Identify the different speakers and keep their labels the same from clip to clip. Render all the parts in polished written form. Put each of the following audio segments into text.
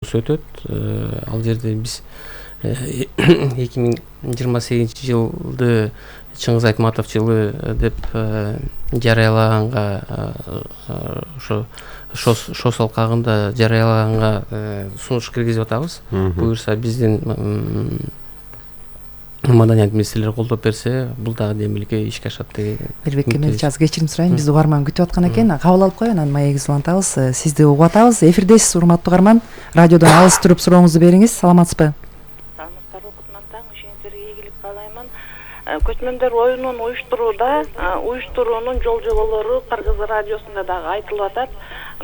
Speaker 1: өтөт. Ал жерде биз 2028-жылды Чыңгыз Айтматов жылы деп жарыялаганга, ошо ШОС алкагында жарыялаганга сунуш киргизип атабыз. Буюрса биздин маданият министрлери колдоп берсе, бул дагы демилге ишке ашат деген.
Speaker 2: Эрбек Кемелович, аз кечирим сурайын. Бизди угарман күтүп аткан экен. Кабыл алып коеюн, анан маегибизди улантабыз. Сизди угуп атабыз. Эфирдесиз, урматтуу угарман. Радиодон алыс туруп сурооңузду бериңиз. Саламатсызбы?
Speaker 3: Саламаттар, кутман таң, ишенгилерге ийгилик каалаймын. Көчмөндөр оюнун уюштуруунун жол жоболору Кыргыз радиосунда дагы айтылып атат,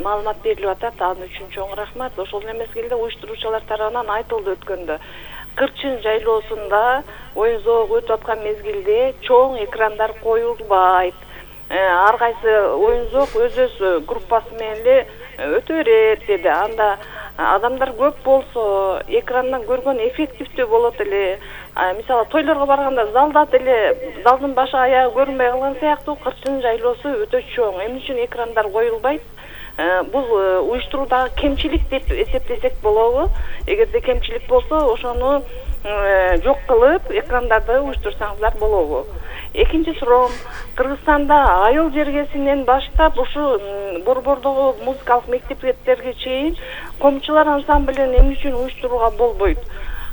Speaker 3: маалымат берилип атат. Ал үчүн чоң рахмат. Ошол мезгилде уюштуруучулар тарабынан айтылды өткөндө. Кырчын жайлоосунда оюн зоого өтүп аткан мезгилде чоң экрандар коюлбайт. Ар кайсы оюн зоог өз группасы менен эле өтө берет деди. Анда адамдар көп болсо экрандан көргөн эффективдүү болот эле. Мисалы тойлорго барганда залда деле залдын башы аягы көрүнбөй калган сыяктуу кырчын жайлоосу өтө чоң. Эмне үчүн экрандар коюлбайт? Бул уюштуруудагы кемчилик деп эсептесек болобу? Эгерде кемчилик болсо, ошону жок кылып, экрандарды уюштурсаңыздар болобу? Экинчи суроом, Кыргызстанда айыл жергесинен баштап ушу борбордогу музыкалык мектептерге чейин комчулар ансамблин эмне үчүн уюштурууга болбойт?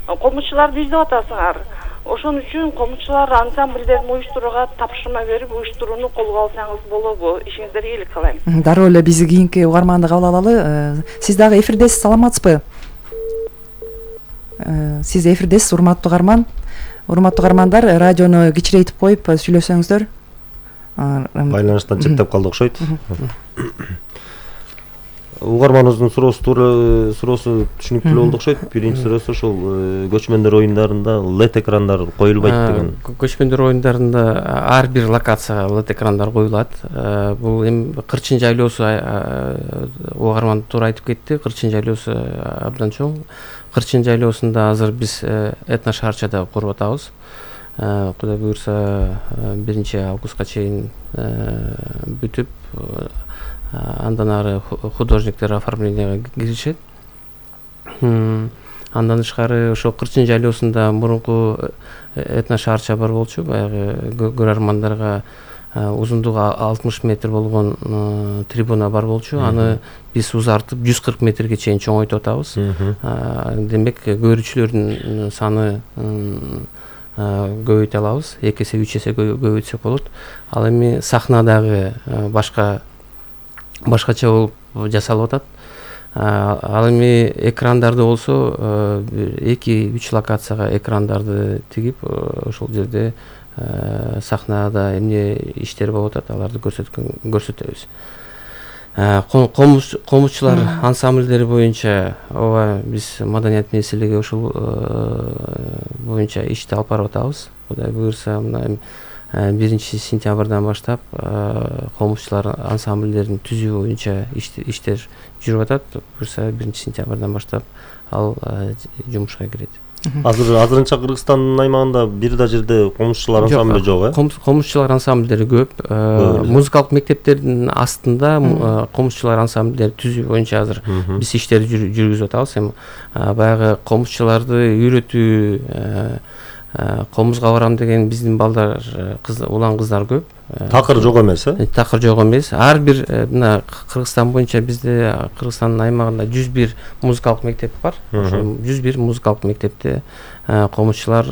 Speaker 3: Комчуларды издеп атасыңар. Ошон үчүн комчулар ансамблдерин уюштурууга тапшырма берип, уюштурууну колго алсаңыз болобу? Ишиңиздерге ийгилик каалайм.
Speaker 2: Дароо эле биз кийинки угарманды кабыл алалы. Сиз дагы эфирдесиз, саламатсызбы? Сиз эфирдесиз, урматтуу угарман. Урматтуу угармандар, радиону кичирейтип коюп сүйлөсөңүздөр.
Speaker 4: Байланыштан чектеп калды окшойт. Угарманыбыздын суроосу түшүнүктүү болду окшойт. Биринчи суроосу ошол көчмөндөр оюндарында LED экрандар коюлбайт деген.
Speaker 1: Көчмөндөр оюндарында ар бир локацияга LED экрандар коюлат. Бул эми кырчын жайлоосу угарман туура айтып кетти. Кырчын жайлоосу абдан чоң. Кырчын жайлоосунда азыр биз этно шаарчада куруп атабыз. Кудай буюрса 1-августка чейин бүтүп, андан ары художниктер оформленияга киришет. Андан тышкары ошо кырчын жайлоосунда мурунку этно шаарча бар болчу, баягы көрөрмандарга узундугу 60 метр болгон трибуна бар болчу. Аны биз узартып 140 метрге чейин чоңойтуп атабыз. Демек көрүүчүлөрдүн саны көбөйтө алабыз. 2 эсе 3 эсе көбөйтсөк болот. Ал эми сахнадагы башкача болуп жасалып атат. Ал эми экрандарды болсо 2-3 локацияга экрандарды тигип, ошол жерде сахнада эмне иштер болуп атат, аларды көрсөтөбүз. Комузчулар ансамблдери боюнча ооба биз маданият министрлиги ошол боюнча ишти алып барып атабыз. Кудай буюрса, мына 1-сентябрдан баштап комузчулар ансамблдерин түзүү боюнча иштер жүрүп атат. Буюрса 1-сентябрдан баштап ал жумушка кирет.
Speaker 4: Азырынча Кыргызстандын аймагында бир да жерде комузчулар ансамбли жок,
Speaker 1: Комузчулар ансамблдери көп. Музыкалык мектептердин астында комузчулар ансамблдери түзүү боюнча азыр биз иштер жүргүзүп атабыз. Эми баягы комузчуларды үйрөтүү, комузга барам деген биздин балдар, улан кыздар көп.
Speaker 4: Такыр жок эмес,
Speaker 1: Такыр жок эмес. Ар бир мына Кыргызстан боюнча бизде Кыргызстандын аймагында 101 музыкалык мектеп бар. Ошо 101 музыкалык мектепте комузчулар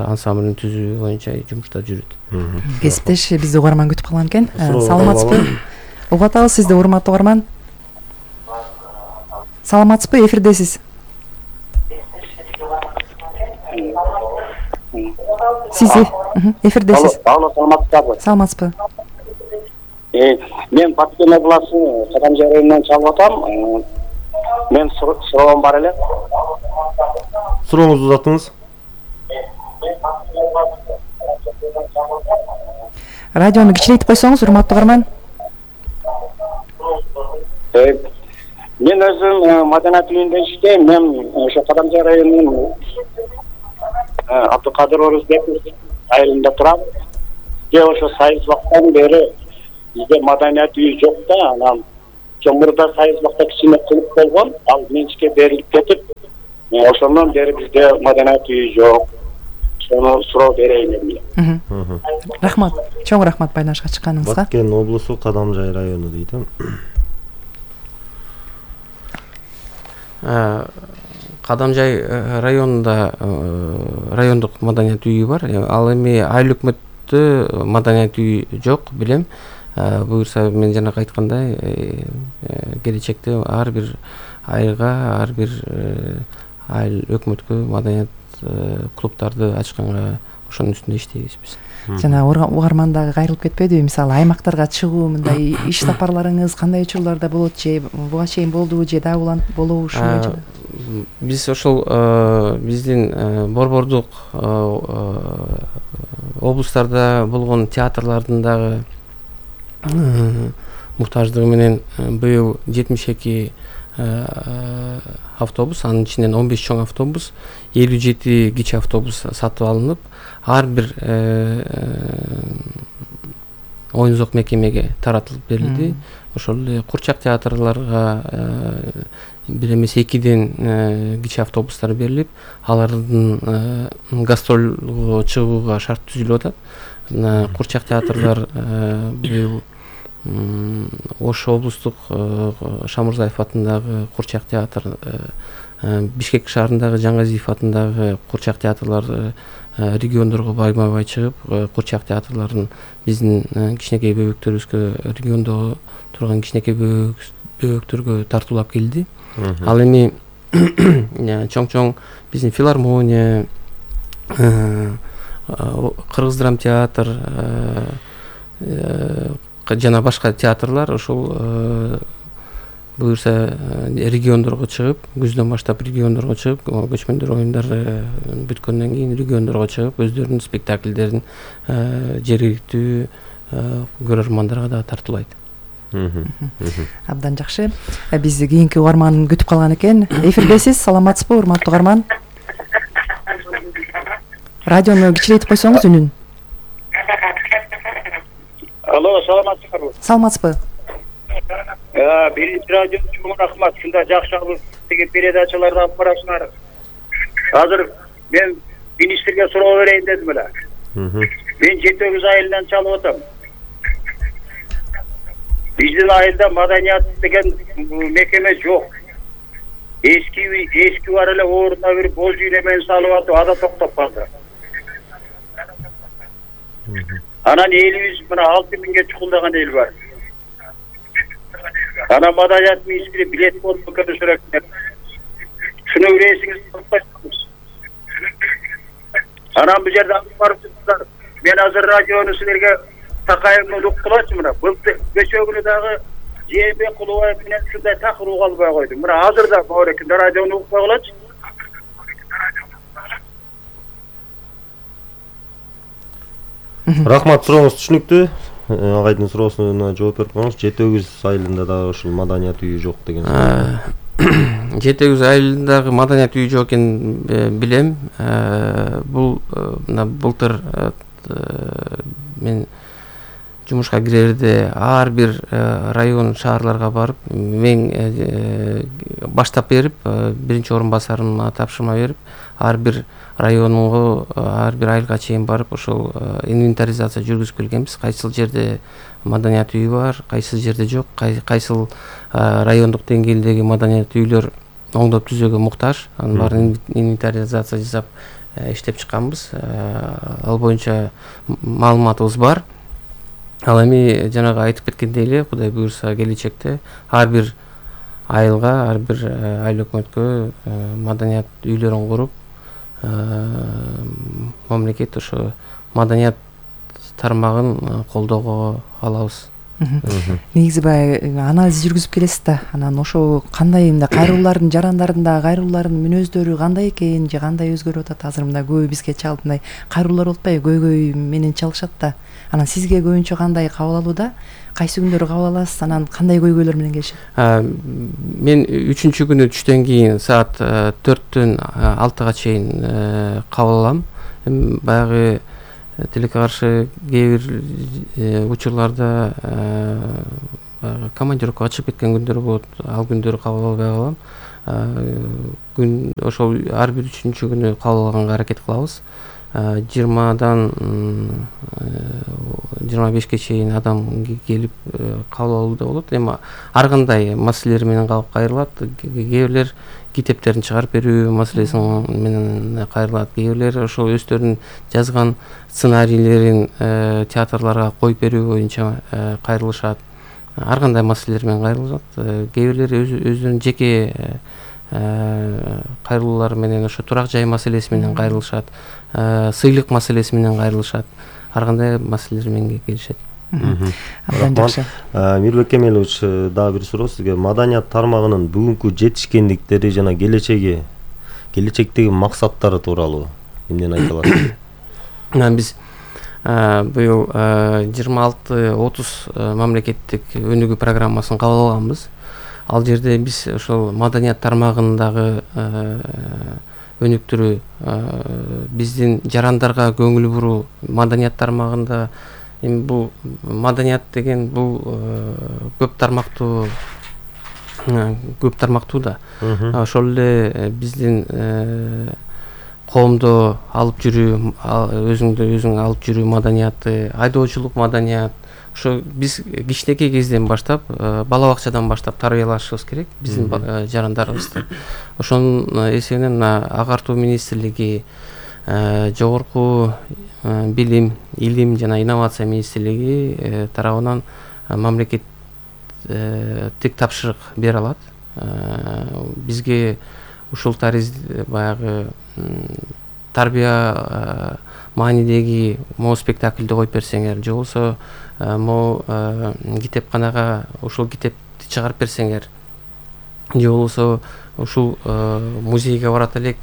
Speaker 1: ансамблин түзүү боюнча жумуштар жүрөт.
Speaker 2: Кесиптеш, бизди угарман күтүп калган экен. Саламатсызбы? Угуп атабыз сизди, урматтуу угарман. Саламатсызбы? Эфирдесиз. Сизи эфирдесиз.
Speaker 5: Алло, саламатсызбы?
Speaker 2: Саламатсызбы?
Speaker 5: Мен Баткен областы Кадамжай районунан чалып атам. Мен суроом бар эле.
Speaker 4: Сурооңузду узатыңыз.
Speaker 2: Радиону кичирейтип койсоңуз, урматтуу угарман.
Speaker 5: Мен өзүм маданият үйүндө иштейм. Мен ошо Кадамжай районунун Абдыкадыр Орузбеков айылында турам. Ошо сайыс убактан бери бизде маданият үйү жок да, анан мурда Сайызбакта кичине кылып болгон, ал менчикке берилип кетип, ошондон бери бизде маданият үйү жок. Сону суроо берейин дедим.
Speaker 2: Рахмат. Чоң рахмат байланышка чыкканыңызга.
Speaker 4: Баткен облусу Кадамжай району дейт.
Speaker 1: Кадамжай районунда райондук маданият үйү бар. Ал эми айыл өкмөттө маданият үйү жок, билем. Буюрса мен жана айткандай келечекте ар бир айылга, ар бир айыл өкмөткө маданият клубтарды ачканга ошонун үстүндө иштейбиз биз.
Speaker 2: Жана угармандагы кайрылып кетпедиби? Мисалы аймактарга чыгуу, мындай иш сапарларыңыз кандай учурларда болот же буга чейин болдубу же дагы болобу ушундай?
Speaker 1: Биз ошол биздин борбордук облустарда болгон театрлардын дагы муктаждыгы менен быйыл 72 автобус, анын ичинен 15 чоң автобус, 57 кичи автобус сатып алынып, ар бир оюн-зок мекемеге таратылып берилди. Ошол эле курчак театрларга бир эмес 2ден кичи автобустар берилип, алардын гастролго чыгууга шарт түзүлүп атат. Курчак театрлар быйыл Ош облустук Шамурзаев атындагы Курчак театр, Бишкек шаарындагы Жаңгазиев атындагы Курчак театрлар региондорго байма-бай чыгып, Курчак театрларын биздин кичинекей бөбөктөрүбүзгө, региондо турган кичинекей бөбөктөргө тартуулап келди. Ал эми чоң биздин филармония, Кыргыз драм театр жана башка театрлар ошол буюрса региондорго чыгып, күздөн баштап региондорго чыгып, көчмөндөр оюндары бүткөндөн кийин региондорго чыгып, өздөрүнүн спектакльдерин жергиликтүү көрөрмандарга да тартуулайт.
Speaker 2: Абдан жакшы. Биз кийинки угарман күтүп калган экен. Эфирдесиз, саламатсызбы, урматтуу угарман? Радиону кичирейтип койсоңуз үнүн.
Speaker 5: Алло, саламатсызбы?
Speaker 2: Саламатсызбы?
Speaker 5: Биринчи радио чоң рахмат. Ушундай жакшы алып деген передачаларды алып барасыңар. Азыр мен министрге суроо берейин дедим эле. Мен Жетөгүз айылынан чалып атам. Биздин айылда маданият деген мекеме жок. Эски бар эле ордуна бир боз үйлемен салып атып, ада токтоп калды. Анан элибиз мына 6000ге чукулдаган эл бар. Ана маданият министри билет болуп кетиш керек. Шуну билесиңиз, анан бул жерде барып турсуздар. Мен азыр радиону силерге такайымын уктулачы мына. Былтыр кечөгүнү дагы Жээнбек Кулубаев менен ушундай такыр уга албай койдум. Мына азыр да бар экен, радиону укпай калачы.
Speaker 4: Рахмат, сурооңуз түшүнүктүү. Агайдын суроосуна жооп берип коюңуз. Жетөгүз айылында дагы ушул маданият үйү жок деген сөз.
Speaker 1: Жетөгүз айылындагы маданият үйү жок экенин билем. Бул былтыр мен жумушка кирерде ар бир район шаарларга барып, мен баштап берип, биринчи орун басарыма тапшырма берип, ар бир районго, ар бир айылга чейин барып, ошол инвентаризация жүргүзүп келгенбиз. Кайсыл жерде маданият үйү бар, кайсыл жерде жок, кайсыл райондук деңгээлдеги маданият үйлөр оңдоп түзөөгө муктаж. Анын баарын инвентаризация жасап иштеп чыкканбыз. Ал боюнча маалыматыбыз бар. Ал эми жанагы айтып кеткендей эле, Кудай буйрса келечекте ар бир айылга, ар бир айыл өкмөткө маданият үйлөрүн куруп, мамлекет ошо маданият тармагын колдоого алабыз.
Speaker 2: Негизи баягы анализ жүргүзүп келесиз да, анан ошо кандай мындай кайрылуулардын жарандарында кайрылуулардын мүнөздөрү кандай экен же кандай өзгөрүп атат? Азыр мындай көбү бизге чалып мындай кайрылуулар болуп атпайбы? Көйгөй менен чалышат да. Анан сизге көбүнчө кандай кабыл алууда? Кайсы күндөрү кабыл аласыз? Анан кандай көйгөйлөр менен келишет?
Speaker 1: Мен 3-күнү түштөн кийин саат 4-төн 6-га чейин кабыл алам. Баягы тилекке каршы кээ бир учурларда командировкага чыгып кеткен күндөр болот, ал күндөрү кабыл албай калам. Күн ошол ар бир 3-күнү кабыл алганга аракет кылабыз. 20-дан 25ке чейин адам келип кабыл алууда болот. Эми ар кандай маселелер менен калып кайрылат. Кээ бирлер китептерин чыгарып берүү маселеси менен кайрылат. Кээ бирлер ошол өздөрүнүн жазган сценарийлерин театрларга коюп берүү боюнча кайрылышат. Ар кандай маселелер менен кайрылышат. Кээ бирлер өздөрүнүн жеке кайрылуулары менен ошо турак жай маселеси менен кайрылышат, сыйлык маселеси менен кайрылышат. Ар кандай маселелер менен келишет.
Speaker 2: Абдан жакшы.
Speaker 4: Мирбек Кемелович, дагы бир суроо сизге. Маданият тармагынын бүгүнкү жетишкендиктери жана келечектеги максаттары тууралуу эмнени айта аласыз?
Speaker 1: Биз быйыл 26-30 мамлекеттик өнүгүү программасын кабыл алганбыз. Ал жерде биз ошол маданият тармагындагы өнүктүрүү, биздин жарандарга көңүл буруу, маданият тармагында эми бул маданият деген бул көп тармактуу да. Ошол эле биздин коомдо алып жүрүү, өзүң алып жүрүү маданияты, айдоочулук маданият. Ошо биз кичинекей кезден баштап, бала бакчадан баштап тарбиялашыбыз керек биздин жарандарыбызды. Ошонун эсебинен Агартуу министрлиги, Жогорку билим, илим жана инновация министрлиги тарабынан мамлекеттик тапшырык бере алат. Бизге ушул баягы тарбия маанидеги могу спектакльди коюп берсеңер, же болбосо могу китепканага ушул китепти чыгарып берсеңер, же болбосо ушул музейге барат элек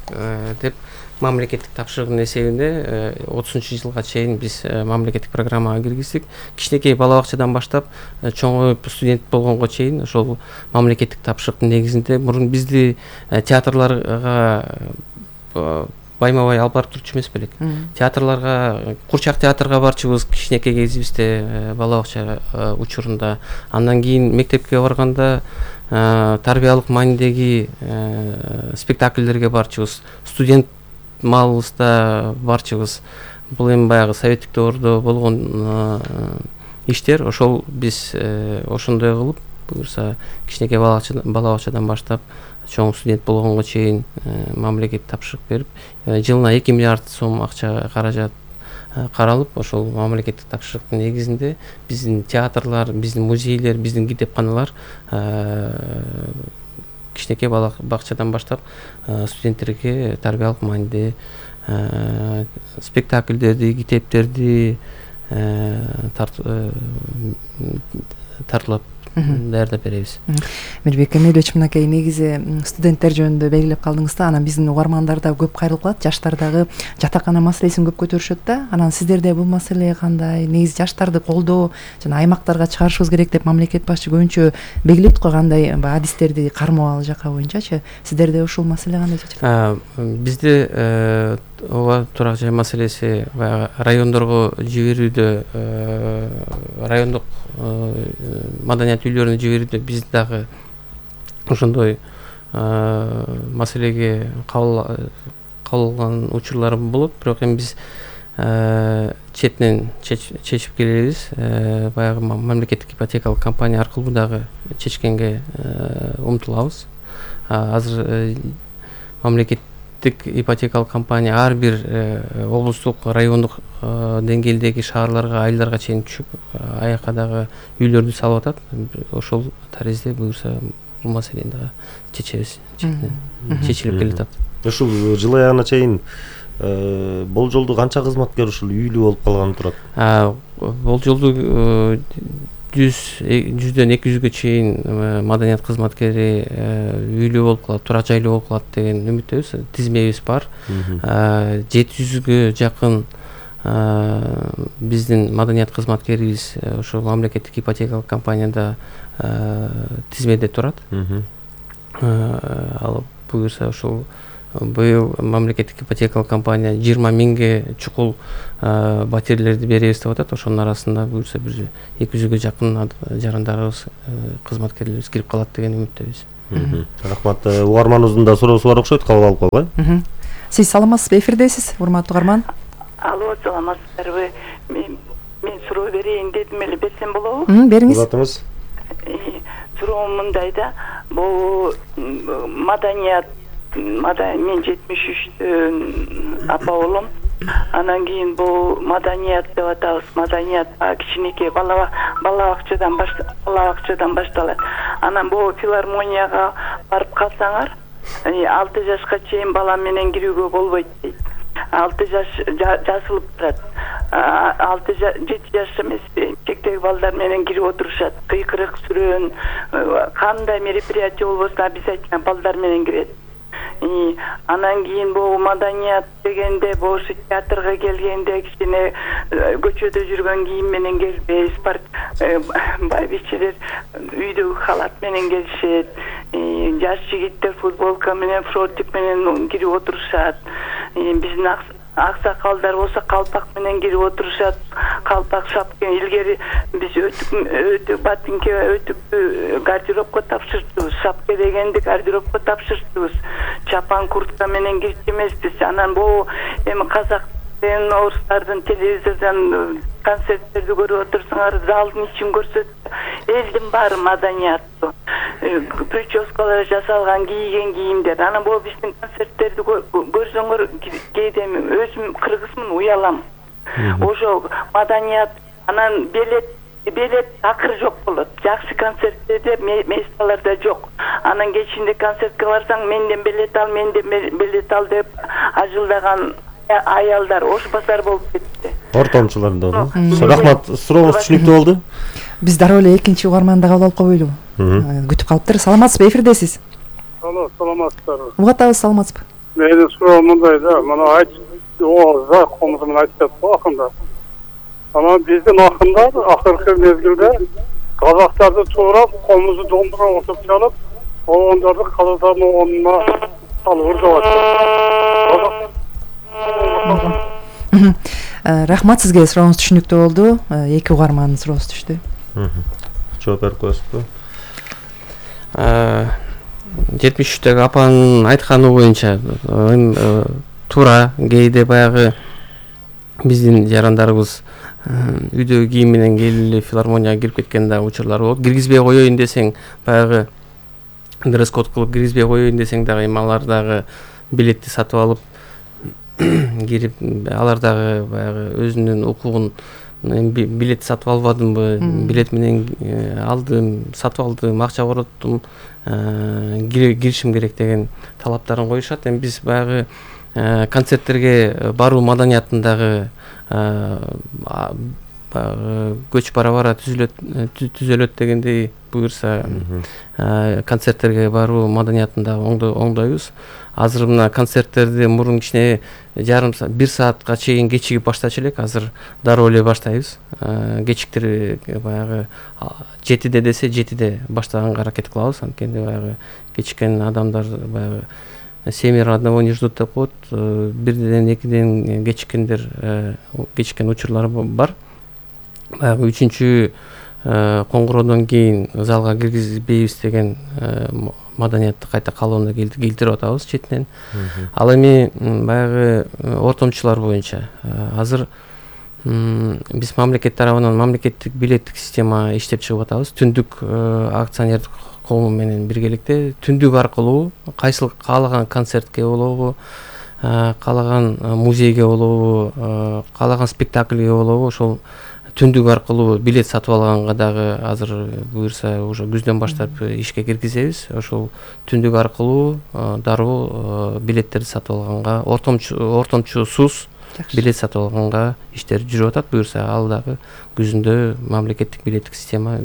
Speaker 1: деп мамлекеттик тапшырыгдын эсебинде 30-жылга чейин биз мамлекеттик программага киргиздик. Кичинекей бала бакчадан баштап чоңоюп студент болгонго чейин ошол мамлекеттик тапшырыктын негизинде мурун бизди театрларга байма-бай алып барып турчу эмес белек. Театрларга, Курчак театрга барчубуз кичинекей кезибизде, бала бакча учурунда. Андан кийин мектепке барганда тарбиялык маанидеги спектакльдерге барчубуз. Студент маалыбызда барчубуз. Бул эми баягы советтик дöwүрдө болгон иштер. Ошол биз ошондой кылып, буюрса кичинекей бала бакчадан баштап чоң студент болгонго чейин мамлекет тапшырык берип, жылына 2 миллиард сом акча каражат каралып, ошол мамлекеттик тапшырыктын негизинде биздин театрлар, биздин музейлер, биздин китепканалар кичинекей бала бакчадан баштап студенттерге тарбиялык мааниде спектакльдерди, китептерди тартуулап даярдап беребиз.
Speaker 2: Мирбек Кемелович, мынакей негизи студенттер жөнүндө белгилеп калдыңыз да, анан биздин угармандар да көп кайрылып калат, жаштар дагы жатакана маселесин көп көтөрүшөт да. Анан сиздерде бул маселе кандай? Негизи жаштарды колдоо жана аймактарга чыгарышыбыз керек деп мамлекет башчы көбүнчө белгилейт го, кандай адистерди кармоо ал жака боюнчачы. Сиздерде ушул маселе кандай чечилет?
Speaker 1: Бизде ооба турак жай маселеси райондорго жиберүүдө, райондук маданият үйлөрүнө жиберүүдө биз дагы ошондой маселеге кабыл учурлар болот. Бирок эми биз четинен чечип келебиз. Баягы мамлекеттик ипотекалык компания аркылуу дагы чечкенге умтулабыз. Азыр мамлекеттик ипотекалык компания ар бир облустук, райондук деңгээлдеги шаарларга, айылдарга чейин түшүп, аяка дагы үйлөрдү салып атат. Ошол таризде буюрса бул маселени дагы чечебиз. Чечилип келатат.
Speaker 4: Ушул жыл аягына чейин болжолдуу канча кызматкер ушул үйлүү болуп калганы турат?
Speaker 1: Болжолдуу 100-дөн 200ге чейин маданият кызматкери үйлүү болуп калат, турак жайлуу болуп калат деген үмүттөбүз. Тизмебиз бар. 700ге жакын биздин маданият кызматкерибиз ошол мамлекеттик ипотекалык компанияда тизмеде турат. Ал буюрса ошол быйыл мамлекеттик ипотекалык компания 20 миңге чукул батирелерди беребиз деп атат. Ошонун арасында буюрса бир 200гө жакын жарандарыбыз, кызматкерлерибиз кирип калат деген үмүттөбүз.
Speaker 4: Рахмат. Угарманыбыздын да суроосу бар окшойт, кабыл алып койгой.
Speaker 2: Сиз саламатсызбы, эфирдесиз, урматтуу угарман.
Speaker 6: Алло, саламатсыздарбы? Мен суроо берейин дедим эле, берсем болобу?
Speaker 2: Бериңиз.
Speaker 4: Улатыңыз.
Speaker 6: Суроом мындайда, бул маданият, мен 73 апа болом. Анан кийин бул маданият деп атабыз. Маданият кичинекей бала бакчадан башталат. Анан бул филармонияга барып калсаңар, 6 жашка чейин бала менен кирүүгө болбойт дейт. 6 жаш жасылып турат. 7 жаш эмес, чектеги балдар менен кирип отурушат. Кыйкырык сүрөөн, кандай мероприятие болбосун биз айткан балдар менен кирет. Анан кийин бул маданият дегенде, бошу театрга келгенде кичине көчөдө жүргөн кийим менен келбейбиз. Байбичелер үйдөгү халат менен келишет. Жаш жигиттер футболка менен, фротик менен кирип отурушат. Биздин аксакалдар болсо калпак менен кирип отурушат. Калпак, шапка. Илгери биз өтүк ботинке, өтүктү гардеробко тапшырдыбыз. Шапка дегенди гардеробко тапшырдыбыз. Чапан, куртка менен кирчи эмеспиз. Анан бул эми казак орустардын телевизордон концерттерди көрүп отурсаңар, залдын ичин көрсөт. Элдин баары маданияттуу. Прическалар жасалган, кийген кийимдер. Анан бул биздин концерттерди көрсөңөр, кээде өзүм кыргызмын, уялам. Ошо маданият, анан билет акыр жок болот. Жакшы концерттерде месталарда жок. Анан кечинде концертке барсаң, менден билет ал деп ажылдаган аялдар ош базар болуп кетти.
Speaker 4: Ортомчулар да. Рахмат, сурооңуз түшүнүктүү болду.
Speaker 2: Биз дароо эле экинчи угарманды кабыл алып койбойлубу? Күтүп калыптыр. Саламатсызбы, эфирдесиз.
Speaker 7: Алло, саламатсыздарбы?
Speaker 2: Угатабыз, саламатсызбы?
Speaker 7: Менин суроом мындай да, мына за комузу менен айтып жатты акында. Анан биздин акындар акыркы мезгилде казактарды туурап, комузу домбура отуп чалып, оондорду калыдан оонуна салып урдап атат.
Speaker 2: Рахмат, сизге сурооңуз түшүнүктүү болду. Эки угармандын суроосу түштү.
Speaker 4: Жооп берип коесузбу?
Speaker 1: 73-төгү апанын айтканы боюнча туура, кээде баягы биздин жарандарыбыз үйдөгү кийим менен келип филармонияга кирип кеткен да учурлар болот. Киргизбей коеюн десең, баягы дресс-код кылып киргизбей коеюн десең дагы эми алар дагы билетти сатып алып кирип, алар дагы баягы өзүнүн укугун, билет сатып албадымбы, билет менен алдым, сатып алдым, акча короттум, киришим керек деген талаптарын коюшат. Эми биз баягы концерттерге баруу маданиятындагы көч бара түзөлөт дегендей буюрса, концерттерге баруу маданиятындагы оңдойбуз. Азыр мына концерттерди мурун кичине жарым саат, 1 саатка чейин кечигип баштачу элек, азыр дароо эле баштайбыз. Кечиктир баягы 7-де десе 7-де баштаганга аракет кылабыз. Анткени баягы кечиккен адамдар баягы семеро одного не ждут деп коет. 1-ден 2-ден кечиккен учурлар бар. Баягы 3-чү коңгуроодон кийин залга киргизбейбиз деген маданиятты кайта калыбына келтирип атабыз четинен. Ал эми баягы ортомчулар боюнча азыр биз мамлекет тарабынан мамлекеттик билеттик система иштеп чыгып атабыз. Түндүк акционердик коому менен биргеликте түндүк аркылуу кайсыл каалаган концертке болобу, каалаган музейге болобу, каалаган спектакльге болобу, ошол түндүк аркылуу билет сатып алганга дагы азыр буюрса уже күздөн баштап ишке киргизебиз. Ошол түндүк аркылуу дароо билеттерди сатып алганга, ортомчусуз билет сатып алганга иштер жүрүп атат. Буюрса ал дагы күзүндө мамлекеттик билеттик система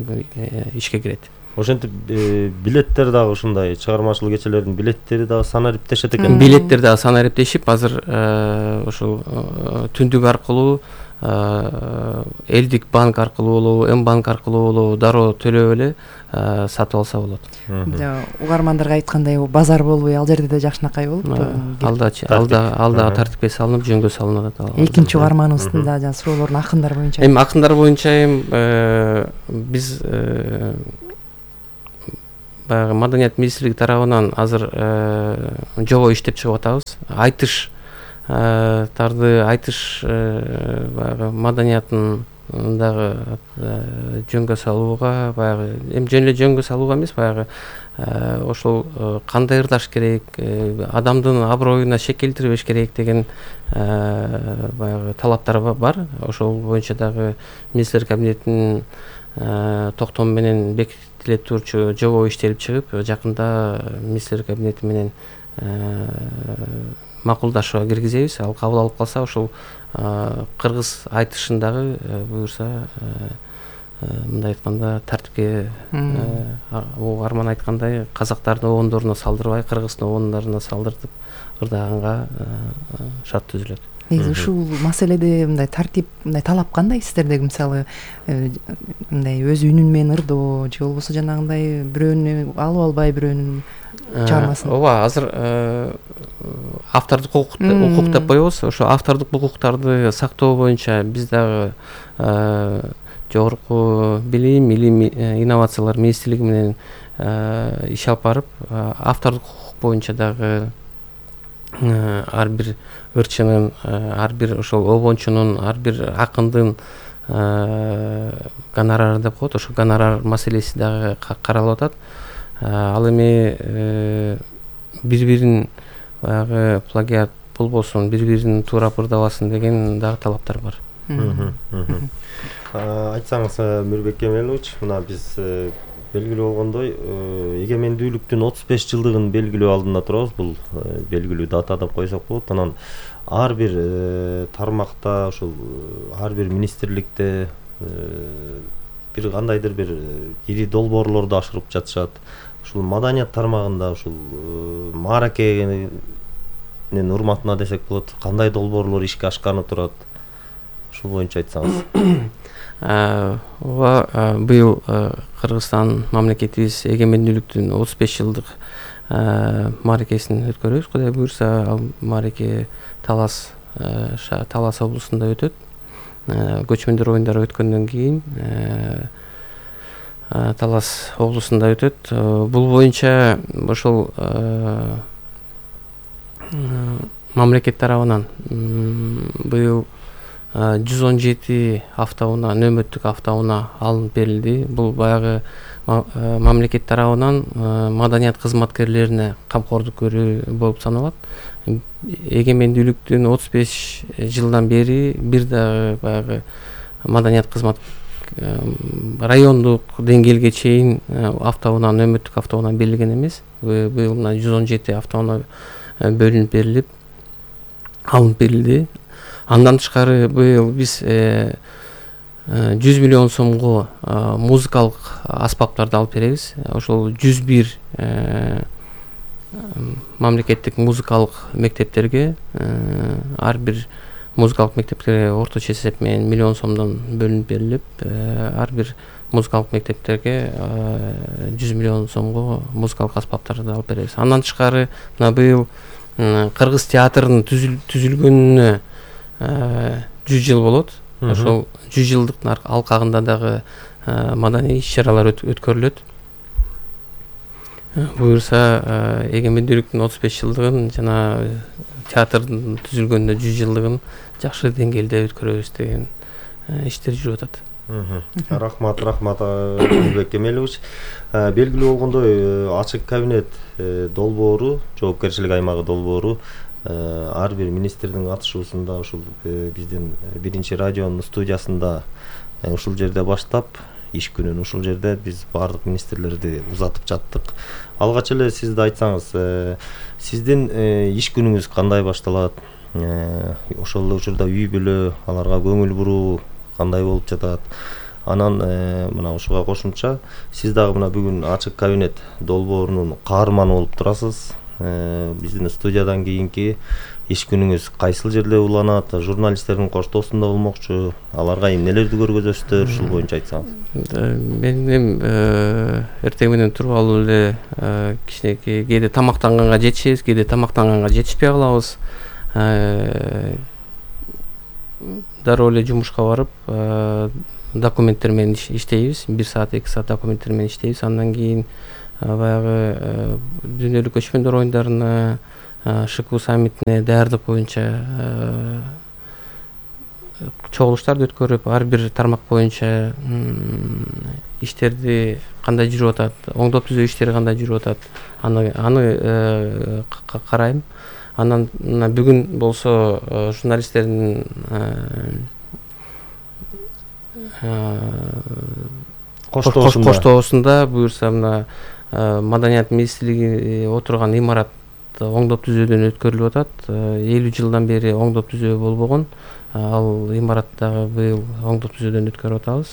Speaker 1: ишке кирет.
Speaker 4: Ошентип билеттер дагы ушундай чыгармачылык кечелердин билеттери дагы санариптешет экен.
Speaker 1: Билеттер дагы санариптешип, азыр ошол түндүк аркылуу элдик банк аркылуу болобу, М банк аркылуу болобу дароо төлөп эле сатып алса болот.
Speaker 2: Угармандарга айткандай базар болбой ал жерде да жакшынакай болупту.
Speaker 1: Алда тартипке салынып жөнгө салынып атат.
Speaker 2: Экинчи угарманыбыздын да жана суроолорун акындар боюнча.
Speaker 1: Эми акындар боюнча биз баягы Маданият министрлиги тарабынан азыр жобо иштеп чыгып атабыз. Айтыш баягы маданияттын дагы жөнгө салууга, баягы эми жөн эле жөнгө салууга эмес, баягы ошол кандай ырдаш керек, адамдын аброюна шек келтирбеш керек деген баягы талаптар бар. Ошол боюнча дагы министрлер кабинетинин токтому менен бекитиле турчу жобо иштелип чыгып, жакында министрлер кабинети менен макулдашууга киргизебиз. Ал кабыл алып калса, ошол кыргыз айтышындагы буюрса, мындай айтканда тартипке арман айткандай казактардын обондоруна салдырбай, кыргыздын обондоруна салдыртып ырдаганга шарт түзүлөт.
Speaker 2: Негизи ушул маселеде мындай тартип, мындай талап кандай сиздердеги, мисалы мындай өз үнүн менен ырдоо же болбосо жанагындай бирөөнү алып албай бирөөнүн чыгармасын.
Speaker 1: Ооба, азыр автордук укук деп коебуз. Ошо автордук укуктарды сактоо боюнча биз дагы жогорку билим инновациялар министрлиги менен иш алып барып, автордук укук боюнча дагы ар бир ырчынын, ар бир ошол обончунун, ар бир акындын гонорары деп коет. Ошо гонорар маселеси дагы каралып атат. Ал эми бири-бирин баягы плагиат болбосун, бири-бирин туурап ырдабасын деген дагы талаптар бар.
Speaker 4: Айтсаңыз, Мирбек Кемелович, мына биз белгилүү болгондой, эгемендүүлүктүн 35 жылдыгын белгилөө алдында турабыз. Бул белгилүү дата деп койсок болот. Анан ар бир тармакта, ошол ар бир министрликте бир кандайдыр бир ири долбоорлорду ашырып жатышат. Ушул маданият тармагында ушул мааракенин урматына десек болот, кандай долбоорлор ишке ашканы турат? Ушул боюнча айтсаңыз.
Speaker 1: Ооба, быйыл Кыргызстан мамлекетибиз эгемендүүлүктүн 35 жылдык мааракесин өткөрөбүз. Кудай буюрса, ал маараке Талас облусунда өтөт. Көчмөндөр оюндары өткөндөн кийин Талас облусунда өтөт. Бул боюнча ошол мамлекет тарабынан быйыл 117 автоунаа, нөмөттүк автоунаа алынып берилди. Бул баягы мамлекет тарабынан маданият кызматкерлерине камкордук көрүү болуп саналат. Эгемендүүлүктүн 35 жылдан бери бир дагы баягы маданият кызмат райондук деңгээлге чейин автоунаа, нөмөттүк автоунаа берилген эмес. Быйыл 117 автоунаа бөлүнүп берилип, алынып берилди. Андан тышкары быйыл биз 100 миллион сомго музыкалык аспаптарды алып беребиз. Ошол 101 мамлекеттик музыкалык мектептерге, ар бир музыкалык мектептерге орточо эсеп менен миллион сомдон бөлүнүп берилип, ар бир музыкалык мектептерге 100 миллион сомго музыкалык аспаптарды алып беребиз. Андан тышкары мына быйыл кыргыз театрынын түзүлгөнүнө 100 жыл болот. Ошол 100 жылдыктын алкагында дагы маданий иш-чаралар өткөрүлөт. Буюрса, эгемендүүлүктүн 35 жылдыгын жана театрдын түзүлгөнүнө 100 жылдыгын жакшы деңгээлде өткөрөбүз деген иштер жүрүп атат.
Speaker 4: Рахмат, Мирбек Кемелович. Белгилүү болгондой, ачык кабинет долбоору, жоопкерчилик аймагы долбоору ар бир министрдин катышуусунда ушул биздин биринчи радионун студиясында ушул жерде баштап, иш күнүн ушул жерде биз баардык министрлерди узатып жаттык. Алгач эле сиз да айтсаңыз, сиздин иш күнүңүз кандай башталат? Ошол эле учурда үй бүлө, аларга көңүл буруу кандай болуп жатат? Анан мына ушуга кошумча, сиз дагы мына бүгүн ачык кабинет долбоорунун каарманы болуп турасыз. Биздин студиядан кийинки иш күнүңүз кайсыл жерде уланат? Журналисттердин коштоосунда болмокчу. Аларга эмнелерди көргөзөсүздөр? Ушул боюнча айтсаңыз.
Speaker 1: Мен эртең менен туруп алып эле кичинекей кээде тамактанганга жетишебиз, кээде тамактанганга жетишпей калабыз. Дароо эле жумушка барып документтер менен иштейбиз. 1 саат 2 саат документтер менен иштейбиз. Андан кийин баягы дүйнөлүк көчмөндөр оюндарына, ШКУ саммитине даярдык боюнча чогулуштарды өткөрүп, ар бир тармак боюнча иштерди кандай жүрүп атат, оңдоп түзөө иштери кандай жүрүп атат, аны карайм. Анан бүгүн болсо журналисттердин коштоосунда буюрса мына Маданият министрлиги отурган имарат оңдоп түзөөдөн өткөрүлүп атат. 50 жылдан бери оңдоп түзөө болбогон. Ал имараттагы быйыл оңдоп түзөөдөн өткөрүп атабыз.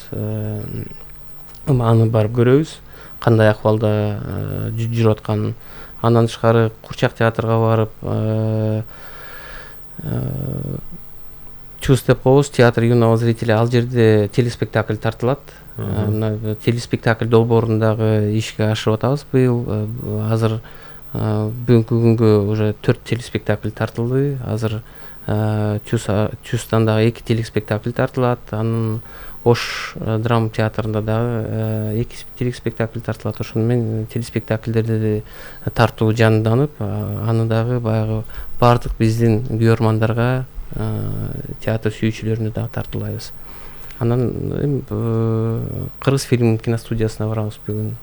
Speaker 1: Аны барып көрөбүз, кандай акыбалда жүрүп атканын. Андан тышкары Курчак театрга барып Чус деп коебуз, театр юного зрителя, ал жерде телеспектакль тартылат. Телеспектакль долбоорундагы ишке ашырып атабыз быйыл. Азыр бүгүнкү күнгө уже 4 телеспектакль тартылды. Азыр Чустан дагы 2 телеспектакль тартылат. Анын Ош драма театрында дагы 2 телеспектакль тартылат. Ошону менен телеспектакльдерди тартуу жанданып, аны дагы баягы бардык биздин көрөрмандарга, театр сүйүүчүлөрүнө дагы тартуулайбыз. Анан Кыргыз фильм киностудиясына барабыз бүгүн.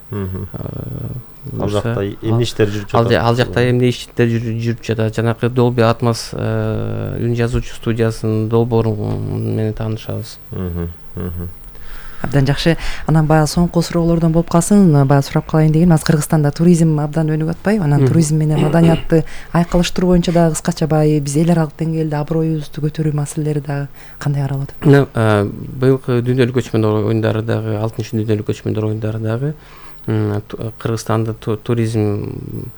Speaker 4: Ал жакта эмне иштер жүрүп жатат?
Speaker 1: Ал жакта эмне иштер жүрүп жатат? Жанакы Dolby Atmos үн жазуучу студиясынын долбоору менен таанышабыз.
Speaker 2: Абдан жакшы. Анан баягы соңку суроолордон болуп калсын, баягы сурап калайын дегеним, азыр Кыргызстанда туризм абдан өнүгүп атпайбы? Анан туризм менен маданиятты айкалыштыруу боюнча дагы кыскача баягы биз эл аралык деңгээлде аброюбузду көтөрүү маселелери дагы кандай каралып атат?
Speaker 1: Быйылкы дүйнөлүк көчмөндөр оюндары дагы, 6-шы дүйнөлүк көчмөндөр оюндары дагы Кыргызстанды туризм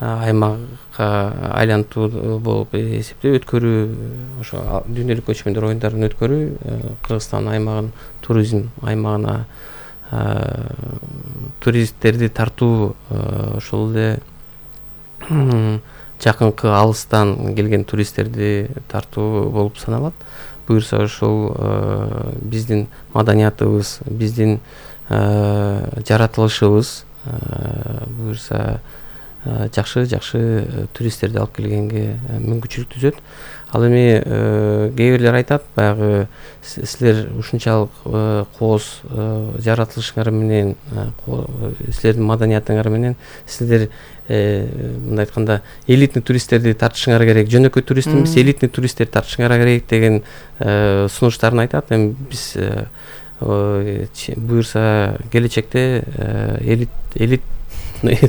Speaker 1: аймакка айлантуу болуп эсептеп өткөрүү, ошо дүйнөлүк көчмөндөр оюндарын өткөрүү Кыргызстан аймагын туризм аймагына туристтерди тартуу, ошол эле жакынкы алыстан келген туристтерди тартуу болуп саналат. Буюрса ошол биздин маданиятыбыз, биздин жаратылышыбыз буюрса жакшы туристтерди алып келгенге мүмкүнчүлүк түзөт. Ал эми кээ бирлер айтат, баягы силер ушунчалык кооз жаратылышыңар менен, силердин маданиятыңар менен силер мындай айтканда элитный туристтерди тартышыңар керек, жөнөкөй турист эмес, элитный туристтерди тартышыңар керек деген сунуштарын айтат. Эми биз буюрса келечекте элит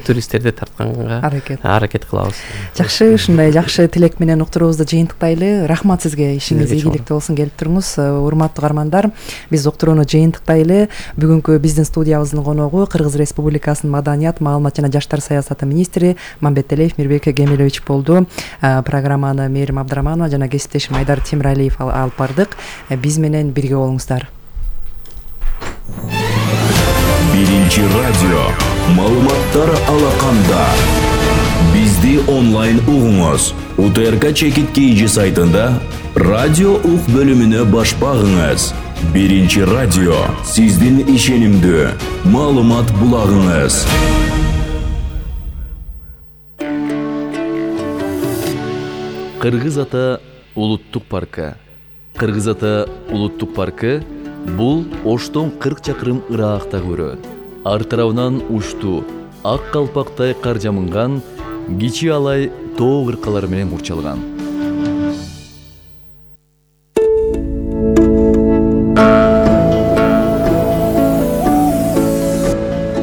Speaker 1: туристтерди тартканга аракет кылабыз.
Speaker 2: Жакшы, ушундай жакшы тилек менен уктуруубузду жыйынтыктайлы. Рахмат сизге, ишиңиз ийгиликтүү болсун, келип туруңуз. Урматтуу угармандар, биз уктурууну жыйынтыктайлы. Бүгүнкү биздин студиябыздын коногу Кыргыз Республикасынын маданият, маалымат жана жаштар саясаты министри Мамбеталиев Мирбек Кемелович болду. Программаны Мээрим Абдыраманова жана кесиптешим Айдар Темиралиев алып бардык. Биз менен бирге болуңуздар.
Speaker 8: Биринчи радио маалыматтар алаканда. Бизди онлайн угуңуз. УТРК чекит KG сайтында радио ук бөлүмүнө баш багыңыз. Биринчи радио сиздин ишенимдүү маалымат булагыңыз.
Speaker 9: Кыргыз Ата улуттук паркы. Кыргыз Ата улуттук паркы бул Оштон 40 чакырым ыракта көрөт. Ар тарабынан ушту, ак калпактай кар жамынган, кичи алай тоо кыркалары менен курчалган.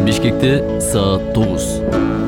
Speaker 9: Бишкекте саат 9.